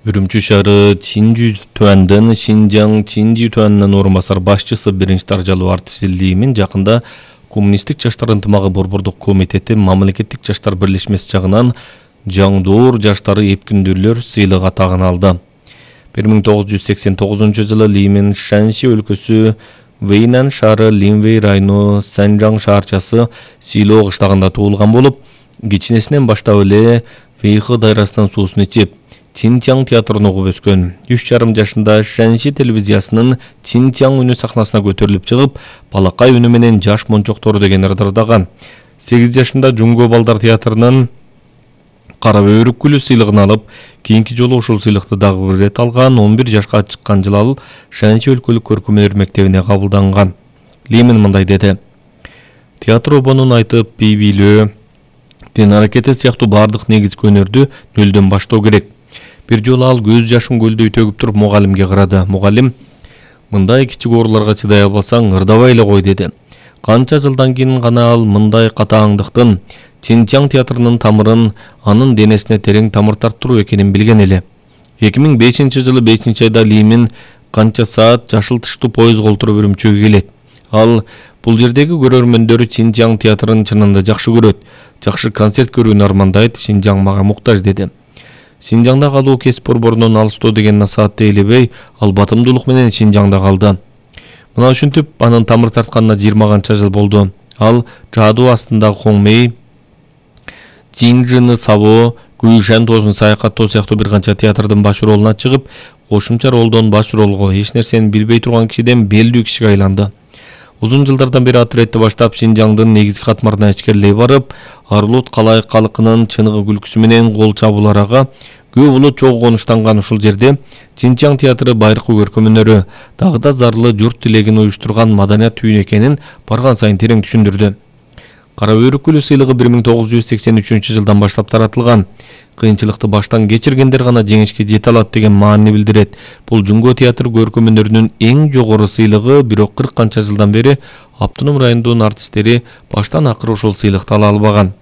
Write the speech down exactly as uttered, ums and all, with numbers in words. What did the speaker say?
Үрүмчү шаары Чинжу Туандын Шинжаң Чинжу Туандын орун басар башчысы биринчи даражалуу артист Ли Мин жакында Коммунисттик жаштар ынтымагы борбордук комитети мамлекеттик жаштар бирлешмеси жагынан Жаңдоор жаштары эпкүндүрлөр сыйлыгы атагын алды. бир миң тогуз жүз сексен тогузунчу жылы Ли Мин Шаньши өлкөсү Вэйнан шаары Линвэй району Санжаң шаарчасы Силоо кыштагында туулган болуп, кичинесинен баштап эле Вэйхэ дайрасынан суусун ичип, Чинчаң театрын угуп өскөн. үч жарым жашында Шаньши телевизиясынын Чинчаң үнү сахнасына көтөрүлүп чыгып, балакай үнү менен жаш мончоктору деген ырдырдаган. сегиз жашында Жунго балдар театрынын Кара бөйрүк гүлү сыйлыгын алып, кийинки жолу ушул сыйлыкты дагы бир рет алган. он бир жашка чыккан жылы ал Шаньши өлкөлүк көркөмдөр мектебине кабылданган. Ли Мин мындай деди: "Театр обонун айтып, бий бийлөө, тен аракети сыяктуу бардык негизги өнөрдү нөлдөн баштоо керек." Бир жолу ал көз жашын көлдөй төгүп туруп мугалимге карады. Мугалим: "Мындай кичик ооруларга чыдай албасаң, ырдабай эле кой" деди. Канча жылдан кийин гана ал мындай катааңдыктын Чинчаң театрынын тамырын анын денесине терең тамыр тарттыруу экенин билген эле. эки миң бешинчи жылы бешинчи айда Ли Мин канча саат жашыл тыштуу поездго олтуруп Үрүмчүгө келет. Ал бул жердеги көрөрмөндөрү Чинчаң театрын чынында жакшы көрөт. Жакшы концерт көрүүнү армандайт. Шинжаң мага муктаж деди. Шинжаңда калуу кесип борборунан алыстоо деген насаатты ээлебей, ал батымдуулук менен Шинжаңда калды. Мына ушинтип анын тамыр тартканына жыйырма канча жыл болду. Ал жаадуу астындагы Хоңмей, Жинжыны Сабо, Гуйшан тоосун саякаттоо сыяктуу бир канча театрдын баш ролуна чыгып, кошумча ролдон баш ролго, эч нерсени билбей турган кишиден белдүү кишиге айланды. Узун жылдардан бери отрядты баштап Шинжаңдын негизги катмарына ичкерилей барып, Арлут калайык калкынын чыныгы күлкүсү менен кол чабууларга көп улут чогуу конуштанган ушул жерде Чинчаң театры байыркы көркөмөнөрү, дагы да зарлы журт тилегин уюштурган маданият түйүнү экенин барган сайын терең түшүндүрдү. Кара бөйрүк гүлү сыйлыгы бир миң тогуз жүз сексен үчүнчү жылдан баштап таратылган. Кыйынчылыкты баштан кечиргендер гана жеңишке жете алат деген маанини билдирет. Бул Жунго театр көркөмөнөрүнүн эң жогору сыйлыгы, бирок кырк канча жылдан бери автоном райондун артисттери баштан акыры ушул сыйлыкты ала албаган.